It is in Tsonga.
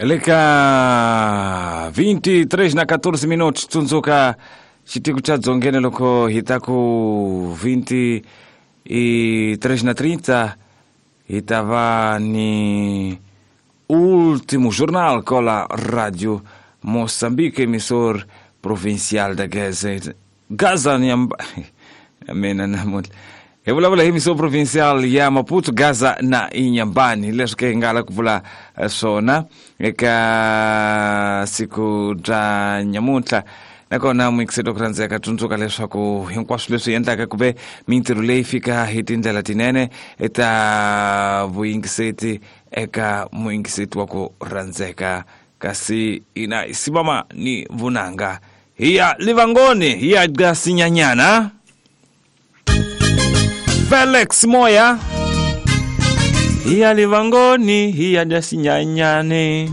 Leka 23 na 14 minutos tsundzuka xitiko xa dzongeni loko hi ta ku 23 na 30 hi ta va ni último jornal com a Rádio Moçambique, emissor provincial da Gaza. Gaza mina namuntlha hi vulavula hi emissor provincial ya Maputo, Gaza na Inhambane, leswi ke hi nga la ku vula swona eka siku bya nyamuntlha. Nakona muyingiseri ku rhandzeka, tsundzuka leswaku hinkwaswo leswi endlaka ku ve mintirho leyi fika hi tindlela tinene ta vuyingiseti eka muyingiseti wa ku rhandzeka, kasi ina simama ni vunanga hi ya livangoni hi ya gasinyanyana. Felix Moya, hi ya livangoni hi ya gasinyanyane.